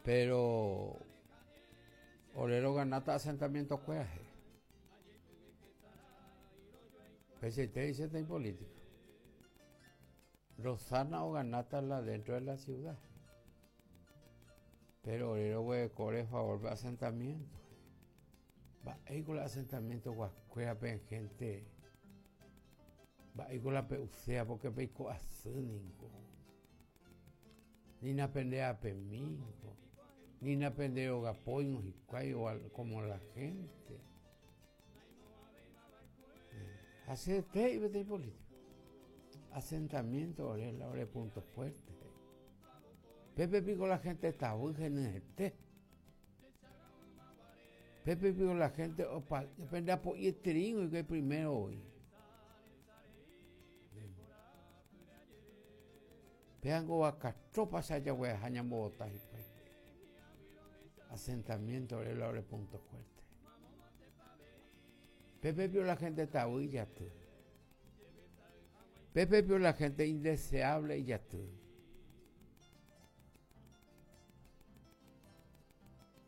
Pero ore roganáta asentamiento-kuéra he'i. Peichaite he'i peteĩ político. Rosana oganáta la dentro de la ciudad. Pero ore roguereko ore favor-pe asentamiento. Mba'éiko la asentamiento guakuérape gente mba'éiko la pe'uséva porque peiko asy ningo. Ni napendeapemíngo, ni napenderogapóingo hikuái como la gente. Ha chete he'i peteĩ político. Asentamiento ore la ore punto fuerte. Pépe piko la gente tavy henyhẽte. Pépe piko la gente opa pende apo'ietereíngo hikuái primero voi. Péango vaka tropa che ajagueaha ñambovota hikuái. Asentamiento ore la ore punto fuerte. Pépe pio la gente tavy ijaty. Pépe pio la gente indeseable ijaty.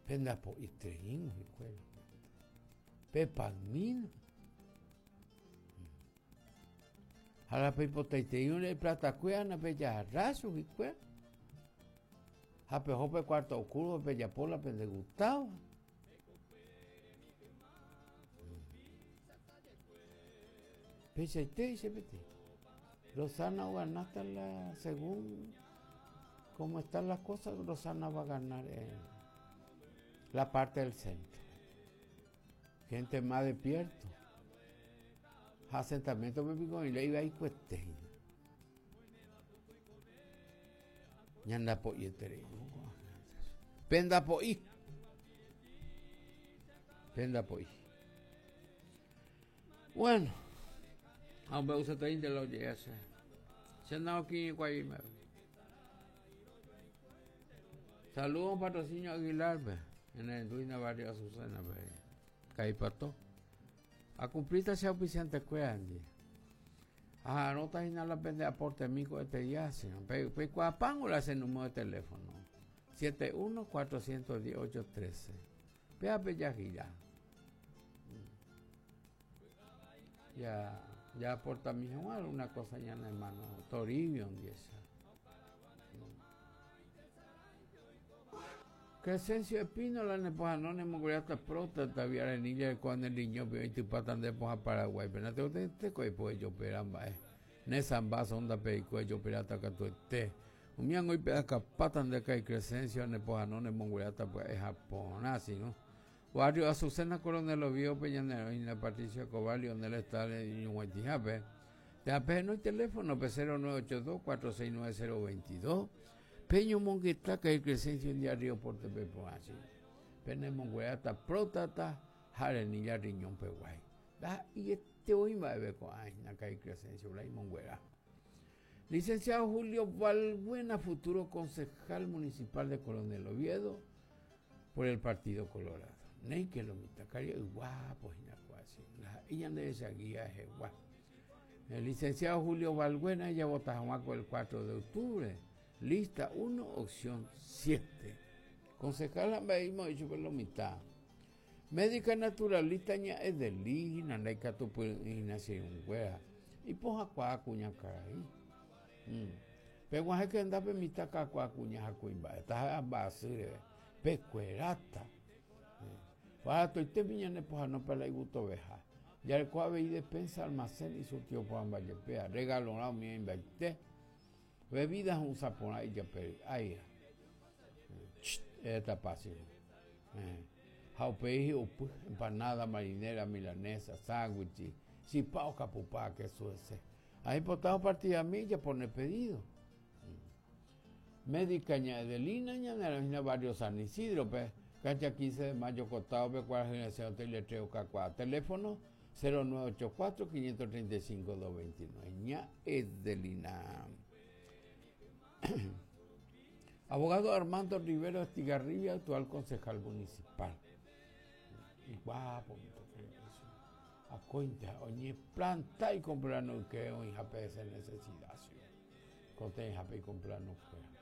Pende apo'itereíngo hikuái. Pepagmína. Ha la peipotaiteĩrõ iplatakuéra napejagarra chuguikuéra. Ha peho pe cuarto oscuro pejapo la pende gustáva. Peichaite che peteĩ. Rosana oganáta la según como están las cosas, Rosana va a ganar en la parte del centro. Gente más despierto. Ha asentamiento pe piko oĩ iva ikuete hína. Ñandapo'ieterei. Pendapo'i. Pendapo'i. Bueno, ha ombe'useteínte la oje'e che. Che naokirirĩkuaivíme. Saludos patrocinio Aguilar-pe, ñanerendúina barrio Azucena-pe, Kaipato. Akumplíta che auspiciante-kuéra ndive. Aha'arõta hína la pende aportemi ko'ete día, sino peikuaapángo la che número de teléfono. 71 410 813. Péva pejahyja. Ya, ya aportami hag̃ua alguna cosa ñane hermano Toribio ndive. Crescencio Espínola ne pohano ne mongoráta próstata vi arenilla reko ne riñópe oitypáta nde pohã Paraguáipe. Natekotevẽite ko ejopera mba'e. Ne samba sonda peiko ejoperáta katuete. Umi ánga oipe'akapáta nde ka'i Crescencio ne pohano ne mongueráta pya'e ha porã sino. Barrio Azucena Coronel Oviedo-pe ñane roĩna Patricio Escobar Lionel Estales ñuguaitĩhápe. Térã pehenói teléfono-pe 0982 469 022. Peñomongeta ka'i Crescencio ndia Río Porte-pe porã sino. Pene mongueráta próstata ha arenilla riñón peguái. Ndaha'eiete voi mba'eve ko'ã hína ka'i Crescencio la imonguera. Licenciado Julio Balbuena, futuro concejal municipal de Coronel Oviedo por el Partido Colorado. Néike lo mitã karia'y guápo hína kuachi. Ndaha'éi ñande rechaguía hegua. El licenciado Julio Balbuena ejavota hag̃ua ko el 4 de octubre. Lista 1, opción 7. Concejal ha mba'e oĩ chupe lo mitã. Médica naturalista ña Edelina ndaikatupyry'ỹi hína che irũnguéra. Ipohãkuaa kuña karai. Mm. Peguahẽke hendápe mitã kakuaa kuña ha kuimba'e, taha'e mba'asy reve, pekueráta. Baratoitépe ñane pohano pe la igutoveha. Jareko avei despensa, almacén isurtido porãmba jepéva, regalorã umi oĩmbaite. Bebida ho'ysã porã ijape ry'áira. Eretapa che. Ha upéi hi'upy, empanada, marinera, milanesa, sándwichi, chipa okapupa kesu hese. Aipota opartidami ejapone pedido. Médica ña Edelina ñane hína barrio San Isidro-pe, cancha 15 de mayo kotáope kuarahy resẽ hotel letrero kakuaa. Teléfono 0984 535 229. Ña Edelina. Abogado Armando Rivero Estigarribia, actual concejal municipal. Iguapo, akóinte oñeplanta ikomplano yke oĩhápe ese necesidad. Koteĩhápe ikomplano kuéra.